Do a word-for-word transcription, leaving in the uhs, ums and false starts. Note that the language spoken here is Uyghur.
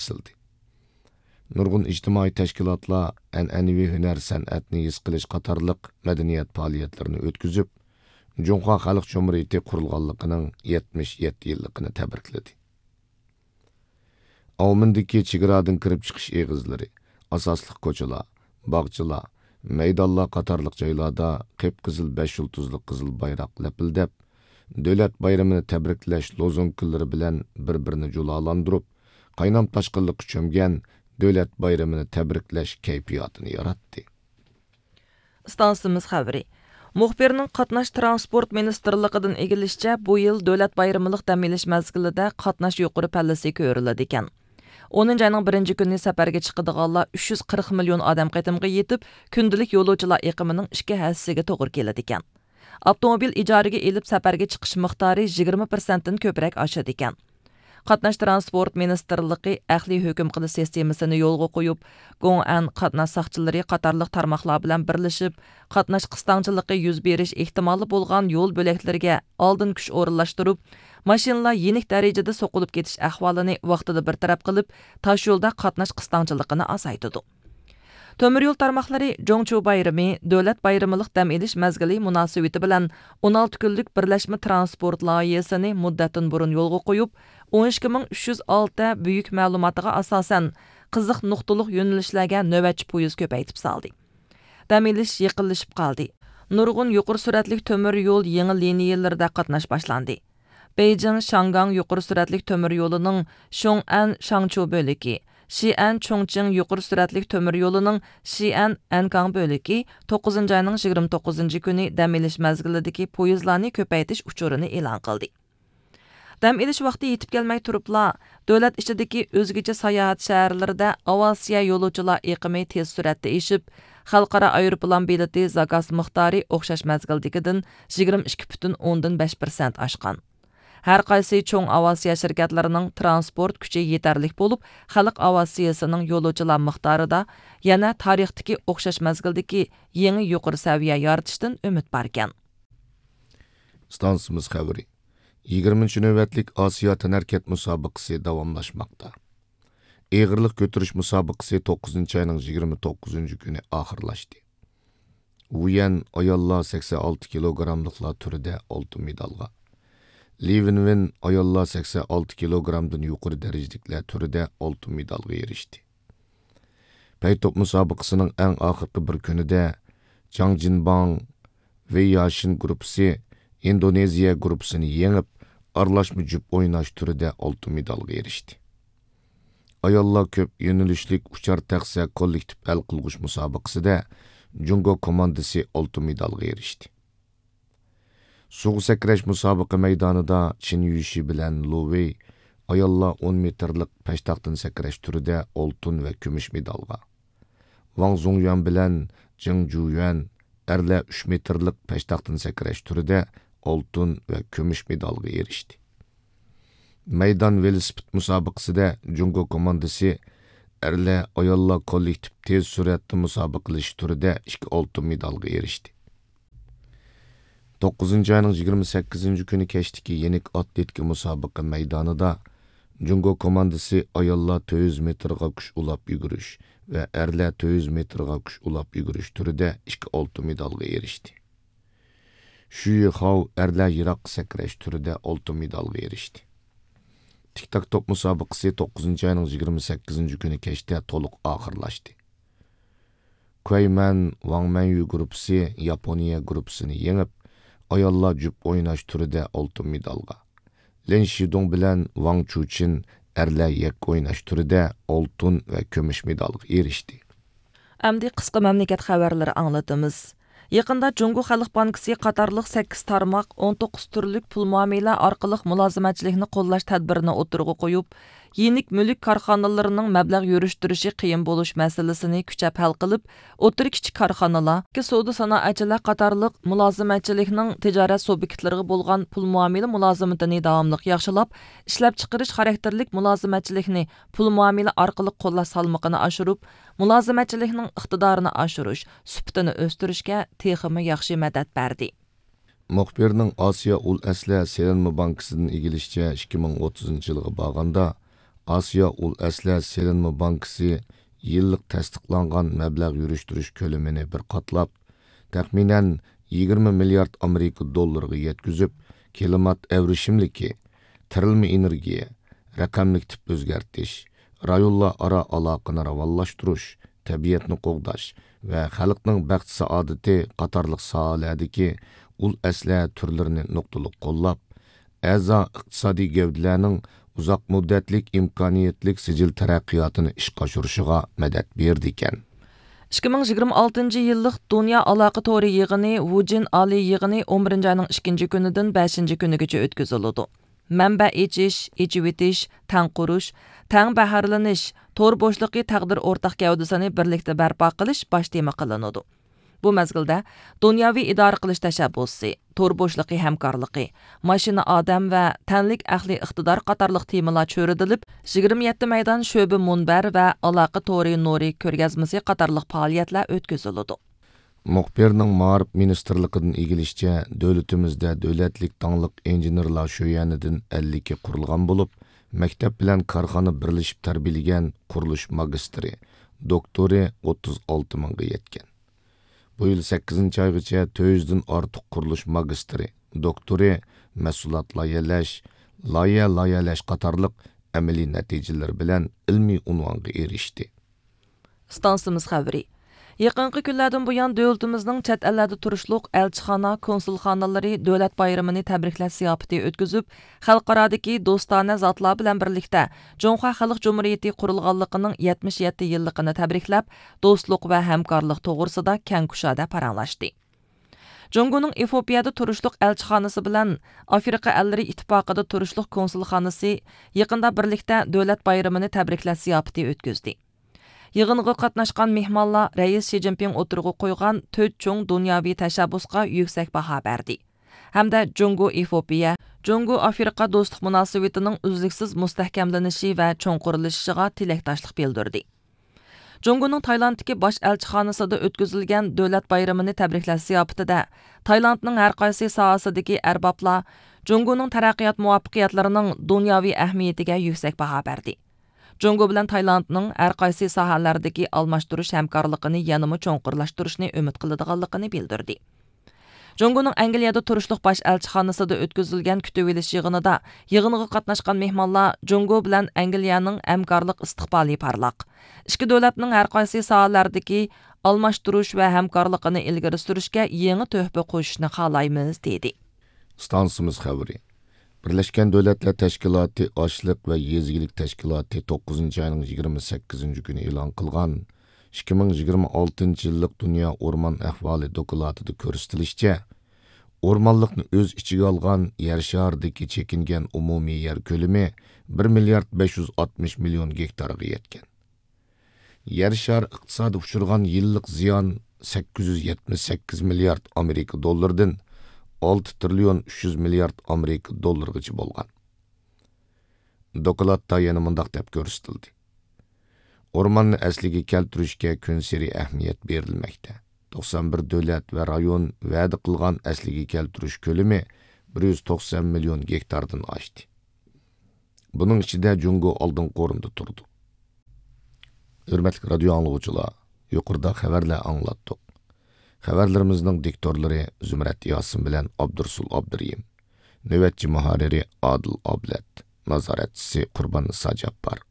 بېسىلدى. نۇرغۇن ئىجتىمائىي تەشكىلاتلار ئەنئەنىۋى ھۈنەر سەنئەتنى ھېس قىلىش قاتارلىق مەدەنىيەت پائالىيەتلىرىنى ئۆتكۈزۈپ، جۇڭخۇا خەلق جۇمھۇرىيىتى قۇرۇلغانلىقىنىڭ يەتمىش يەتتە يىللىقىنى تەبرىكلىدى. ئاۋمېندىكى چېگرادىن كىرىپ چىقىش ئېغىزلىرى، ئاساسلىق كوچىلار، باغچىلار، مەيدانلار قاتارلىق جايلاردا قىپقىزىل بەش يۇلتۇزلۇق قىزىل بايراق لەپىلدەپ، دۆلەت بايرىمىنى تەبرىكلەش لوزۇنكىلىرى بىلەن بىر-بىرىنى جۇلالاندۇرۇپ، قاينام تاشقىنلىققا چۆمگەن دۆلەت بايرىمىنى تەبرىكلەش كەيپىياتىنى ياراتتى. ئىستانسىمىز خەۋىرى. مۇخبىرنىڭ قاتناش تىرانسپورت مىنىستىرلىقىدىن ئىگىلىشىچە، بۇ يىل دۆلەت بايرىملىق دەم ئېلىش مەزگىلىدە قاتناش يۇقىرى پەللىسى كۆرۈلىدىكەن. ئونىنچى ئاينىڭ بىرىنچى كۈنى سەپەرگە چىقىدىغانلار ئۈچ يۈز قىرىق مىليون ئادەم قېتىمغا يېتىپ، كۈندىلىك يولۇچىلار ئېقىمىنىڭ ئىككى ھەسسىسىگە توغرا كېلىدىكەن. ئاپتوموبىل ئىجارىگە ئېلىپ سەپەرگە چىقىش مىقدارى يىگىرمە پىرسەنتتىن كۆپرەك ئاشىدىكەن. قاتناش تىرانسپورت مىنىستىرلىقى ئەقلىي ھۆكۈم قىلىش سىستېمىسىنى يولغا قويۇپ، گوڭئەن قاتناش ساقچىلىرى قاتارلىق تارماقلار بىلەن بىرلىشىپ، قاتناش قىستاڭچىلىقى يۈز بېرىش ئېھتىمالى بولغان يول بۆلەكلىرىگە ئالدىن كۈچ ئورۇنلاشتۇرۇپ، ماشىنىلار يېنىك دەرىجىدە سوقۇلۇپ كېتىش ئەھۋالىنى ۋاقتىدا بىر تەرەپ قىلىپ، تاشيولدا قاتناش قىستاڭچىلىقىنى ئازايتىدۇ. تۆمۈر يول تارماقلىرى جۇڭچۇ بايرىمى، دۆلەت بايرىملىق دەم ئېلىش مەزگىلى مۇناسىۋىتى بىلەن ئون ئالتە كۈنلۈك بىرلەشمە تىرانسپورت لايىھىسىنى مۇددەتتىن بۇرۇن يولغا قويۇپ، ئون ئىككى مىڭ ئۈچ يۈز ئالتە بۈيۈك مەلۇماتىغا ئاساسەن، قىزىق نۇقتىلىق يۆنىلىشلەرگە نۆۋەتچى پويىز كۆپەيتىپ سالدى. دەم ئېلىش يېقىنلىشىپ قالدى. نۇرغۇن يۇقىرى سۈرئەتلىك تۆمۈر يول يېڭى لىنىيەلىرىدە قاتناش باشلاندى. بېيجىڭ شاڭگاڭ يۇقىرى سۈرئەتلىك تۆمۈر يولىنىڭ شوڭئەن شاڭچۇ بۆلىكى، شىئەن چۇڭچىڭ يۇقىرى سۈرئەتلىك تۆمۈر يولىنىڭ شىئەن ئەنكاڭ بۆلىكى توققۇزىنچى ئاينىڭ يىگىرمە توققۇزىنچى كۈنى دەم ئېلىش مەزگىلىدىكى پويىزلارنى كۆپەيتىش ئۇچۇرىنى ئېلان قىلدى. دەم ئېلىش ۋاقتى يېتىپ كەلمەي تۇرۇپلا، دۆلەت ئىچىدىكى ئۆزگىچە ساياھەت شەھەرلىرىدە ئاۋىئاتسىيە يولۇچىلار ئېقىمى تېز سۈرئەتتە ئېشىپ، خەلقئارا ئايروپىلان بېلىتى زاكاز مىقدارى ئوخشاش مەزگىلدىكىدىن يىگىرمە ئىككى پۈتۈن ئوندىن بەش پىرسەنت ئاشقان. ھەر قايسى چوڭ ئاۋىئاتسىيە شىركەتلىرىنىڭ تىرانسپورت كۈچى يېتەرلىك بولۇپ، خەلق ئاۋىئاتسىيىسىنىڭ يولۇچىلار مىقدارىدا يەنە تارىختىكى ئوخشاش مەزگىلدىكى يېڭى يۇقىرى سەۋىيە يارىتىشتىن ئۈمىد باركەن. ئىستانسىمىز خەۋىرى. يىگىرمىنچى نۆۋەتلىك ئاسىيا تەنھەرىكەت مۇسابىقىسى داۋاملاشماقتا. ئېغىرلىق كۆتۈرۈش مۇسابىقىسى توققۇزىنچى ئاينىڭ يىگىرمە توققۇزىنچى كۈنى ئاخىرلاشتى. ۋۇيەن ئاياللار سەكسەن ئالتە كىلوگراملىقلار تۈرىدە ئالتۇن مېدالغا، لى ۋېنۋېن ئاياللار سەكسەن ئالتە كىلوگرامدىن يۇقىرى دەرىجىلىكلەر تۈرىدە ئالتۇن مېدالغا ئېرىشتى. پەي توپ مۇسابىقىسىنىڭ ئەڭ ئاخىرقى بىر كۈنىدە جاڭ جىنباڭ ۋېي ياشىن گۇرۇپپىسى ئىندونېزىيە گۇرۇپپىسىنى يېڭىپ، ئارىلاشما جۈپ ئويناش تۈرىدە ئالتۇن مېدالغا ئېرىشتى. ئاياللار كۆپ يۆنىلىشلىك ئۇچار تەخسە كوللېكتىپ ھەل قىلغۇچ مۇسابىقىسىدە جۇڭگو كوماندىسى ئالتۇن مېدالغا ئېرىشتى. سۇغا سەكرەش مۇسابىقە مەيدانىدا چېن يۈشى بىلەن لۇ ۋېي ئاياللار ئون مېتىرلىق پەشتاقتىن سەكرەش تۈرىدە ئالتۇن ۋە كۈمۈش مېدالغا، ۋاڭ زۇڭيۈەن بىلەن جېڭ جۇيۈەن ئەرلەر ئۈچ مېتىرلىق پەشتاقتىن سەكرەش تۈرىدە ئالتۇن ۋە كۈمۈش مېدالغا ئېرىشتى. مەيدان ۋېلىسىپىت مۇسابىقىسىدە جۇڭگو كوماندىسى ئەرلەر، ئاياللار كوللېكتىپ تېز سۈرئەتتە مۇسابىقىلىشىش تۈرىدە ئىككى ئالتۇن مېدالغا ئېرىشتى. توققۇزىنچى ئاينىڭ يىگىرمە سەككىزىنچى كۈنى كەچتىكى يېنىك ئاتلېتىكا مۇسابىقە مەيدانىدا جۇڭگو كوماندىسى ئاياللار تۆت يۈز مېتىرغا كۈچ ئۇلاپ يۈگۈرۈش ۋە ئەرلەر تۆت يۈز مېتىرغا كۈچ ئۇلاپ يۈگۈرۈش تۈرىدە ئىككى ئالتۇن مېدالغا ئېرىشتى. شۈيى خاۋ ئەرلەر يىراققا سەكرەش تۈرىدە ئالتۇن مېدالغا ئېرىشتى. تىك تاك توپ مۇسابىقىسى توققۇزىنچى ئاينىڭ يىگىرمە سەككىزىنچى كۈنى كەچتە تولۇق ئاخىرلاشتى. كۇەيمەن ۋاڭ مەنيۈ گۇرۇپپىسى ياپونىيە گۇرۇپپىسىنى يېڭىپ، ئاياللار جۈپ ئويناش تۈرىدە ئالتۇن مېدالغا، لىن شىدۇڭ بىلەن ۋاڭ چۇچىن ئەرلەر يەككە ئويناش تۈرىدە ئالتۇن ۋە كۈمۈش مېدالغا ئېرىشتى. ئەمدى قىسقا مەملىكەت خەۋەرلىرى ئاڭلىتىمىز. يېقىندا جۇڭگو خەلق بانكىسى قاتارلىق سەككىز تارماق ئون توققۇز تۈرلۈك پۇل مۇئامىلە ئارقىلىق مۇلازىمەتچىلىكنى قوللاش تەدبىرىنى ئوتتۇرىغا قويۇپ، يېنىك مۈلۈك كارخانىلىرىنىڭ مەبلەغ يۈرۈشتۈرۈشى قىيىن بولۇش مەسىلىسىنى كۈچەپ ھەل قىلىپ، ئوتتۇرا، كىچىك كارخانىلار، سودا سانائەتچىلەر قاتارلىق مۇلازىمەتچىلىكنىڭ تىجارەت سۇبيېكتلىرىغا بولغان پۇل مۇئامىلە مۇلازىمىتىنى داۋاملىق ياخشىلاپ، ئىشلەپچىقىرىش خاراكتېرلىك مۇلازىمەتچىلىكنى پۇل مۇئامىلە ئارقىلىق قوللاش سالمىقىنى ئاشۇرۇپ، مۇلازىمەتچىلىكنىڭ ئىقتىدارىنى ئاشۇرۇش، سۈپىتىنى ئۆستۈرۈشكە تېخىمۇ ياخشى مەدەت بەردى. مۇخبىرنىڭ ئاسىيا ئۇل ئەسلىھە سېلىنما بانكىسىدىن ئىگىلىشىچە، ئىككى مىڭ ئوتتۇزىنچى يىلغا بارغاندا، ئاسىيا ئۇل ئەسلىھە سېلىنما بانكىسى يىللىق تەستىقلانغان مەبلەغ يۈرۈشتۈرۈش كۆلىمىنى بىر قاتلاپ، تەخمىنەن يىگىرمە مىليارد ئامېرىكا دوللىرىغا يەتكۈزۈپ، كىلىمات ئەۋرىشىملىكى، تىرىلما ئېنېرگىيە، رەقەملىك تىپ ئۆزگەرتىش، رايونلار ئارا ئالاقىنى راۋانلاشتۇرۇش، تەبىئەتنى قوغداش ۋە خەلقنىڭ بەخت-سائادىتى قاتارلىق ساھەلەردىكى ئۇل ئەسلىھە تۈرلىرىنى نۇقتىلىق قوللاپ، ئەزا ئىقتىسادىي گەۋدىلەرنىڭ ئۇزاق مۇددەتلىك ئىمكانىيەتلىك سىجىل تەرەققىياتىنى ئىشقا ئاشۇرۇشىغا مەدەت بېرىدىكەن. ئىككى مىڭ يىگىرمە ئالتىنچى يىللىق دۇنيا ئالاقە تورى يىغىنى ۋۇجىن ئالىي يىغىنى ئون بىرىنچى ئاينىڭ ئىككىنچى كۈنىدىن بەشىنچى كۈنىگىچە ئۆتكۈزۈلىدۇ. مەنبە ئېچىش، ئېچىۋېتىش، تەڭ قۇرۇش، تەڭ بەھرىلىنىش، تور بوشلۇقى تەقدىر ئورتاق گەۋدىسىنى بىرلىكتە بەرپا قىلىش باش تېما قىلىنىدۇ. بۇ مەزگىلدە دۇنياۋى ئىدارە قىلىش تەشەببۇسى، تور بوشلۇقى ھەمكارلىقى، ماشىنا ئادەم ۋە تەنلىك ئەقلىي ئىقتىدار قاتارلىق تېمىلار چۆرىدىلىپ، يىگىرمە يەتتە مەيدان شۆبە مۇنبەر ۋە ئالاقە تورى نۇرى كۆرگەزمىسى قاتارلىق پائالىيەتلەر ئۆتكۈزۈلىدۇ. مۇخبىرنىڭ مائارىپ مىنىستىرلىقىدىن ئىگىلىشىچە، دۆلىتىمىزدە دۆلەتلىك داڭلىق ئىنژېنېرلار شۆيەنىدىن ئەللىكى قۇرۇلغان بولۇپ، مەكتەپ بىلەن كارخانا بىرلىشىپ تەربىيەلىگەن قۇرۇلۇش ماگىستىرى، دوكتورى ئوتتۇز ئالتە مىڭغا يەتكەن. بۇ يىل سەككىزىنچى ئايغىچە تۆت يۈزدىن ئارتۇق قۇرۇلۇش ماگىستىرى، دوكتورى، مەھسۇلات لايىھەلەش، لايىھە لايىھەلەش قاتارلىق ئەمەلىي نەتىجىلىرى بىلەن ئىلمىي ئۇنۋانغا ئېرىشتى. ئىستانسىمىز خەۋىرى. يېقىنقى كۈنلەردىن بۇيان، دۆلىتىمىزنىڭ چەت ئەللەردە تۇرۇشلۇق ئەلچىخانا، كونسۇلخانىلىرى دۆلەت بايرىمىنى تەبرىكلەش زىياپىتى ئۆتكۈزۈپ، خەلقئارادىكى دوستانە زاتلار بىلەن بىرلىكتە جۇڭخۇا خەلق جۇمھۇرىيىتى قۇرۇلغانلىقىنىڭ يەتمىش يەتتە يىللىقىنى تەبرىكلەپ، دوستلۇق ۋە ھەمكارلىق توغرىسىدا كەڭ كۇشادە پاراڭلاشتى. جۇڭگونىڭ ئېفىئوپىيەدە تۇرۇشلۇق ئەلچىخانىسى بىلەن ئافرىقا ئەللىرى ئىتتىپاقىدا تۇرۇشلۇق كونسۇلخانىسى يېقىندا بىرلىكتە دۆلەت بايرىمىنى تەبرىكلەش زىياپىتى ئۆتكۈزدى. يىغىنغا قاتناشقان مېھمانلار رەئىس شى جىنپىڭ ئوتتۇرىغا قويغان تۆت چوڭ دۇنياۋى تەشەببۇسقا يۈكسەك باھا بەردى ھەمدە جۇڭگو ئېفىئوپىيە، جۇڭگو ئافرىقا دوستلۇق مۇناسىۋىتىنىڭ ئۈزلۈكسىز مۇستەھكەملىنىشى ۋە چوڭقۇرلىشىشىغا تىلەكداشلىق بىلدۈردى. جۇڭگونىڭ تايلاندتىكى باش ئەلچىخانىسىدا ئۆتكۈزۈلگەن دۆلەت بايرىمىنى تەبرىكلەش زىياپىتىدە تايلاندنىڭ ھەرقايسى ساھەسىدىكى ئەربابلار جۇڭگونىڭ تەرەققىيات مۇۋەپپەقىيەتلىرىنىڭ دۇنياۋى ئەھمىيىتىگە يۈكسەك باھا بەردى. جۇڭگو بىلەن تايلاندنىڭ ھەرقايسى ساھەلەردىكى ئالماشتۇرۇش ھەمكارلىقىنى يەنىمۇ چوڭقۇرلاشتۇرۇشنى ئۈمىد قىلىدىغانلىقىنى بىلدۈردى. جۇڭگونىڭ ئەنگلىيەدە تۇرۇشلۇق باش ئەلچىخانىسىدا ئۆتكۈزۈلگەن كۈتۈۋېلىش يىغىنىدا يىغىنغا قاتناشقان مېھمانلار جۇڭگو بىلەن ئەنگلىيەنىڭ ھەمكارلىق ئىستىقبالى پارلاق، ئىككى دۆلەتنىڭ ھەرقايسى ساھەلەردىكى ئالماشتۇرۇش ۋە ھەمكارلىقىنى ئىلگىرى سۈرۈشكە يېڭى تۆھپە قوشۇشنى خالايمىز، دېدى. ئىستانسىمىز خەۋىرى. بىرلەشكەن دۆلەتلەر تەشكىلاتى ئاشلىق ۋە يېزا ئىگىلىك تەشكىلاتى توققۇزىنچى ئاينىڭ يىگىرمە سەككىزىنچى كۈنى ئېلان قىلغان ئىككى مىڭ يىگىرمە ئالتىنچى يىللىق دۇنيا ئورمان ئەھۋالى دوكلاتىدا كۆرسىتىلىشىچە، ئورمانلىقنى ئۆز ئىچىگە ئالغان يەر شارىدىكى چېكىنگەن ئومۇمىي يەر كۆلىمى بىر مىليارد بەش يۈز ئاتمىش مىليون گېكتارغا يەتكەن. يەر شارى ئىقتىسادى ئۇچرىغان يىللىق زىيان سەككىز يۈز يەتمىش سەككىز مىليارد ئامېرىكا دوللىرىدىن ئالتە تىرىليون ئۈچ يۈز مىليارد ئامېرىكا دوللىرىغىچە بولغان. دوكلاتتا يەنە مۇنداق دەپ كۆرسىتىلدى: ئورماننى ئەسلىگە كەلتۈرۈشكە كۈنسېرى ئەھمىيەت بېرىلمەكتە. توقسان بىر دۆلەت ۋە رايون ۋەدە قىلغان ئەسلىگە كەلتۈرۈش كۆلىمى بىر يۈز توقسان مىليون گېكتاردىن ئاشتى. بۇنىڭ ئىچىدە جۇڭگو ئالدىنقى ئورۇندا تۇرىدۇ. ھۆرمەتلىك رادىيو ئاڭلىغۇچىلار، يۇقىرىدا خەۋەرلەر ئاڭلاتتۇق. خەۋەرلىرىمىزنىڭ دىكتورلىرى زۇمرەت ياسىن بىلەن ئابدۇرۇسۇل ئابدۇرېھىم. نۆۋەتچى مۇھەررىرى ئادىل ئابلەت. نازارەتچىسى قۇرباننىسا جاپپار.